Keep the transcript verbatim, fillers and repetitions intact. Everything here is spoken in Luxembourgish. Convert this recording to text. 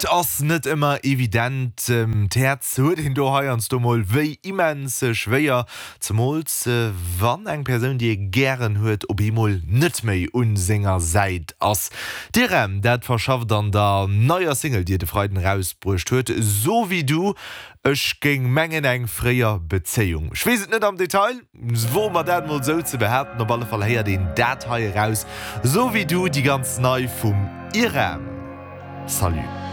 Et ass net ëmmer evident, d'Häerz huet een do heiansdo mol wéi immens schwéier, zemools wann eng Persoun, déi ee gären huet, op eemol net méi un senger Säit ass. D'Irem dat verschafft an der neier Single, déi et e Freiden erausbruecht huet, So wie du, ech géing mengen eng fréier Bezéiung. Ech weess et net am Detail, woe mer dat mol sou ze behaapten, op alle Fall héiert een dat hei eraus, So wie du, déi ganz nei vum Irem. Salut.